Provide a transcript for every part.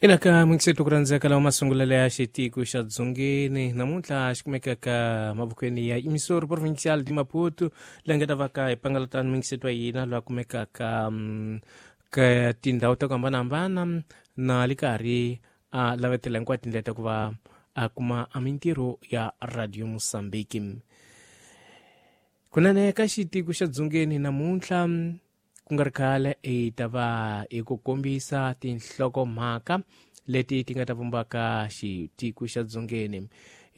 Ina ka mingiseto ku rhandzeka lawa masungulelo ya xitiko xa Dzongeni namuntlha xi kumekaka mavokweni ya Emissor Provincial de Maputo, leyi nga ta va ka hi pangalatani mingiseto wa hina loyi a kumekaka ka tindhawu ta ku hambanahambana na le karhi a lavetela hinkwato tindlela ta ku va a kuma a mintirho ya Radio Mozambique. Kunene ka xitiko xa Dzongeni namuntlha ku nga ri khale hi ta va hi ku kombisa tinhlokomhaka leti ti nga ta vumbaka xitiko xa Dzongeni.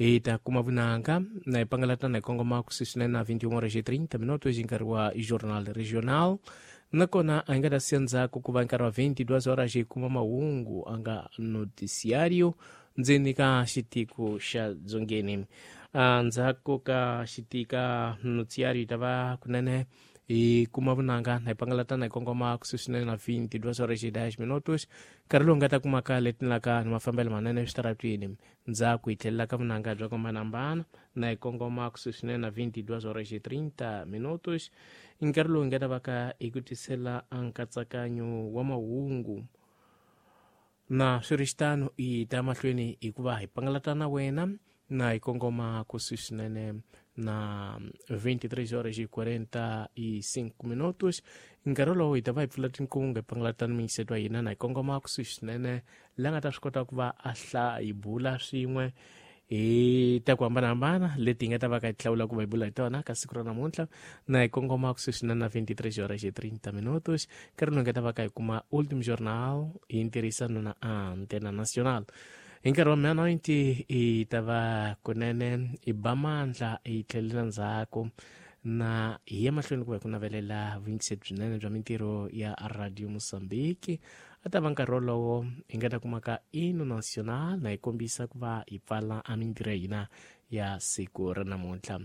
Hi ta kuma vunanga na hi pangalatana hi kongoma kusuhi swinene na 21 horas e 30 minutos hi nkarhi wa Journal Regional, nakona a hi nga ta siya ndzhaku ku va nkarhi wa 22 horas hi kuma mahungu a nga noticiario ndzeni ka xitiko xa Dzongeni. Ndzhaku ka xitika noticiario hi ta va kunene hi kuma vunanga na hi pangalatana hi kongoma kusuhi swinene na 22 horas e 10 minutos, nkarhi lowu nga ta kumaka letinlaka ni mafambelo manene eswitaratwini. Ndzhaku hi tlhelela ka vunanga bya ku hambanahambana na hi kongoma kusuhi swinene na 22 horas e 30 minutos, nkarhi lowu hi nga ta va ka hi ku tisela nkatsakanyo wa mahungu. Na swi ri xitano hi ta mahlweni hikuva hi pangalatana wena na hi kongoma kusuhi swinene na 23 horas e 45 minutos, nkarhi lowu hi ta va hi pfula tinkungu hi pangalatana mingiseto wa hina na hi kongoma kusuhi swinene la nga ta swi kota ku va a hla hi bula swin'we hi ta ku hambanahambana leti hi nga ta va ka hi hlawula ku va hi bula hi tona ka siku ra namuntlha, na hi kongoma kusuhi swinene na 23 horas e 30 minutos, nkarhi lowu hi nga ta va ka hi kuma Ultim Journal hi ntirhisano na Antena Nacional. Hi nkarhi wa 90 hi ta va kunene hi ba mandla hi tlhelela ndzhaku na hi ya mahlweni ku va hi ku navelela vuyingiseri byinene bya mintirho ya Radio Mozambique. A ta va nkarhi wolowo hi nga ta kumaka Hino Nacional na hi kombisa ku va hi pfala a mintirho ya hina ya siku ra namuntlha.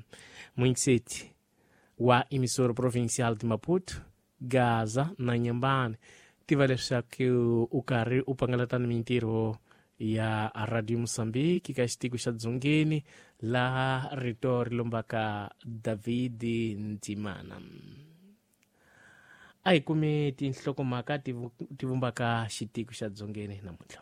Muyingiseti wa Emissor Provincial de Maputo, Gaza na Nyambani, tiva leswaku u karhi u pangalatana mintirho ya Radio Mozambique ka xitiko xa Dzongeni, laha rito ri lombaka David Ntimana. A hi kumi tinhlokomhaka ti vumbaka xitiko xa Dzongeni namuntlha.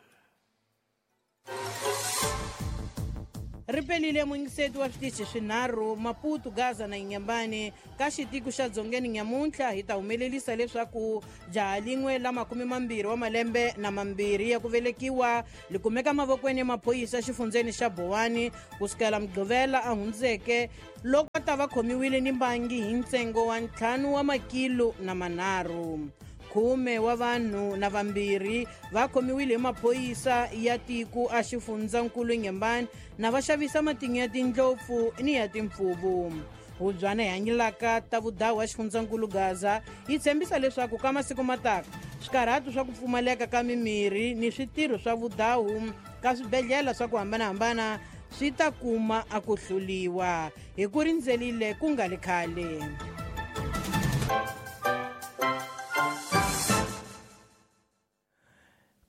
Ri pelile muyingiseti wa switichi swinharhu Maputo, Gaza na Inhambane. Ka xitiko xa Dzongeni nyamuntlha hi ta humelerisa leswaku jaha lin'we la 22 wa malembe na mambirhi ya ku velekiwa li kumeka mavokweni ya maphorisa xifundzeni xa Bowani kusukela Mugqivela a hundzeke, loko a ta va khomiwile ni mbangi hi ntsengo wa 5 wa makilo na manharhu. 10 wa vanhu na vambirhi va khomiwile hi maphorisa ya tiko a xifundzankulu Inhambane na va xavisa matinyo ya tindlopfu ni ya timpfuvu. Hubyana hi hanyelaka ta vudawu wa xifundzankulu Gaza yi tshembisa leswaku ka masiku mataka swikarhatu swa ku pfumaleka ka mimirhi ni switirho swa vudawu ka swibedhlele swa ku hambanahambana swi ta kuma a ku hluliwa hi ku rindzelile ku nga li khale.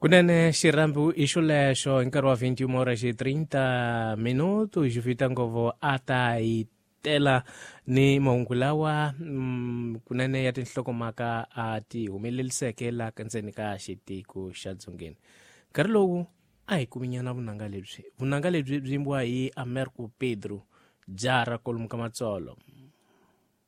Kunene xirhambu i xolexo hi nkarhi wa 21 horas e 30 minuto xi ngopfu a ta hi tela ni mahungu lawa kunene ya tinhlokomhaka a ti humeleliseke la ndzeni ka xitiko xa Dzongeni. Nkarhi lowu a hi kuminyana vunanga lebyi, vunanga lebyi byi yimbiwa hi Americo Pedro Jara kolomu ka Matsolo.